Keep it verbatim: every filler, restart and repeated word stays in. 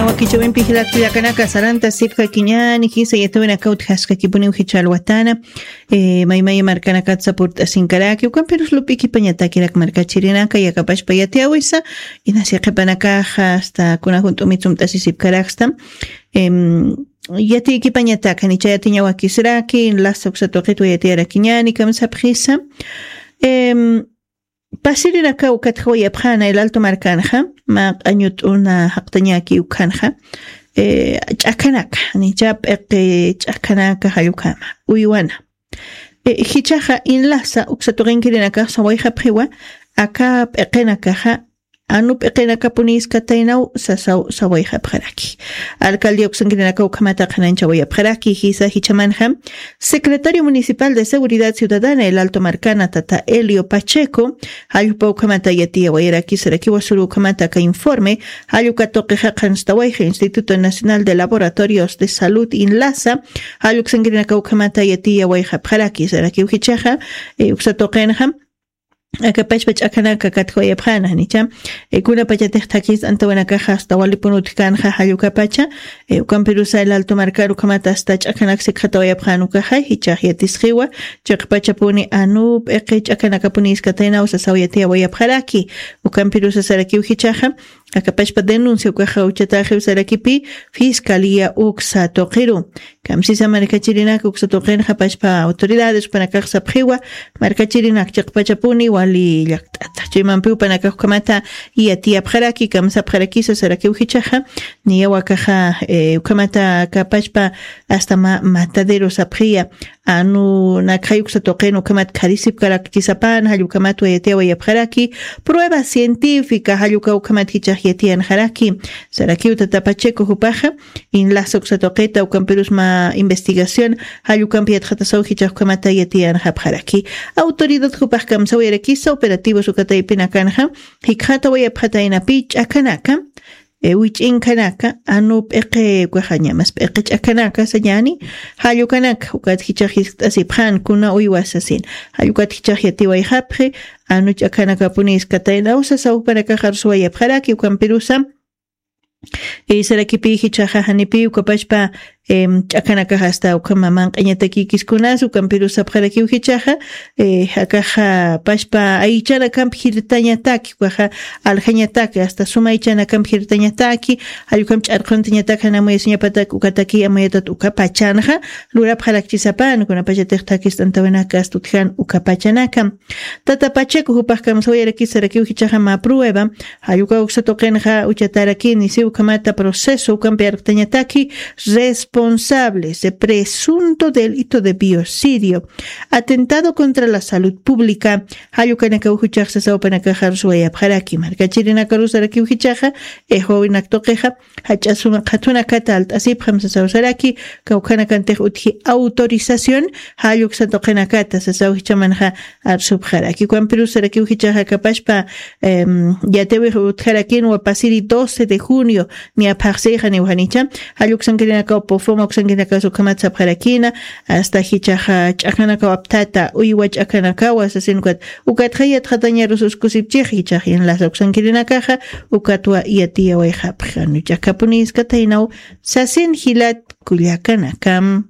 Wakichawimpi jilak kullakanaka, saranta sipka kiñani jisa yatawinaka utjaskakipuniw jichal watana. Eh, maymaya markanakatsa purt'asinkaraki ukampirus lup'ikipañatakirak markachirinaka yakapashpa yatiyawisa. Inasi qhipanakaxa hasta kuna junt'umitsumt'asisipkaraksta. Em, yatikipañataka nicha yatiña wakisraki lasa uksa tuqitwa yatiyarakiñani kamsapxisa. Em, pasirinaka ukatjawayapxana el alto markanxa, ma q'añut'una jaqtañaki ukhanxa. Eh, ch'akhanaka nicha p'iqi ch'akhanaka jallukama uywana. Eh, jichaxa inlasa uksa tuqinkirinakax sawayxapxiwa aka p'iqinakaxa anu p'iqinakapuniskataynaw sasaw sawayxapxaraki. Alcaldia uksankirinaka ukhamata qhananchawayapxaraki jisa jichamanxa. Secretario Municipal de Seguridad Ciudadana el alto markana tata Elio Pacheco, jallpa ukhamata yatiyawayaraki sarakiwa suru ukhamata aka informe. Jallukatuqixa qhanstawayxa Instituto Nacional de Laboratorios de Salud inlasa. Jalluksankirinaka ukhamata yatiyawayxapxaraki sarakiw jichaxa. Eh, uksatuqinxa akapashpa ch'akhanaka katjawayapxana nicha. Eh, kunapachatix thakis antawinakaxa hasta walipun utjkanxa jallukapacha. Eh, ukampirusa el alto markar ukhamata hasta ch'akhanaka sikxatawayapxan ukaxay jichax yatisqiwa. Chiqpachapuni anu p'iqi ch'akhanakapuniskataynaw sasaw yatiyawayapxaraki. Ukampirusa sarakiw jichaxa akapashpa denuncia ukaxa uchataxiw sarakipi fiscalía uksa tuqiru. Kamsisa markachirinaka uksa tuqinxa pashpa autoridades jupanakax sapxiwa. Markachirinak chiqpachapuni wali llakt'ata chuymampi jupanakax ukhamata yatiyapxaraki kamsapxarakisa sarakiw jichaxa. Niyawakaxa eh, ukhamata kapashpa hasta ma matadero sapxiya. Anu nakxay uksa tuqin ukhamat kharisipkarakchisapan jallukhamat wayatiya wayapxaraki. Prueba científica jalluka ukhamat jichax yatiyanxaraki. Sarakiw tata Pacheco jupaxa inlasa uksa tuqita ukampirusma investigación jallukampi yatxatasaw jichax ukhamata yatiyanxapxaraki. Autoridad jupax kamsaw yarakisa operativos ukataypinakanxa jikxata wayapxataynapi ch'akhanaka. Wich'inkanaka anu p'iqi ukaxañamas p'iqi ch'akanaka sañani. Jallukanaka ukat jichax jiskt'asipxan kuna uywasasin. Jallukat jichax yatiwayxapxi anu ch'akanakapuni iskatayna usa sawpanakaxarusuwayapxaraki ukampirusa. Isarakipi jichaxa janipi ukapashpa ch'akanakaxa asta ukhama manq'iñatakikiskunas ukampirusapxarakiw jichaxa. Jakaxa pashpa aychanakamp jirtañataki ukaxa aljañataki asta suma aychanakamp jirtañataki. Jallukam ch'arquntañatak janamuyasiñapatak ukataki amuyatat ukapachanxa lurapxarakchisapan kunapachatix thakist'antawinaka astutjan ukapachanakam. Tata Pacheco jupax kamsawayarakisarakiw jichaxa mä prueba. Jalluka uksa tuqinxa uchatarakini si ukhamata proceso ukampi arqtañataki responsables de presunto delito de biocidio, atentado contra la salud pública. Jallukanakaw jichax sasawapanakaxaruswayapxaraki markachirinakaru sarakiw jichaxa. Ejwawinak tuqixa jach'a suma qhatunakata alt'asipxam sasaw saraki. Kawkhanakantix utji autorización jalluksa tuqinakata sasaw jichamanxa arsupxaraki ukampirusarakiw jichaxa kapashpa. Yatiwix utjarakinwa pasiri doce de junio niya phaxsixaniw janicha. Jalluksankirinakaw pofoma uksankirinakaw sukhamat sapxarakina asta jichaxa ch'akanakaw apthata uywa ch'akanakawa sasin ukat. Ukatxa yatxatañarus uskusipchix jichax inlasa uksankirinakaxa ukatwa yatiyawayxapxi anu ch'akapuni iskataynaw sasin jilat kullakanakam.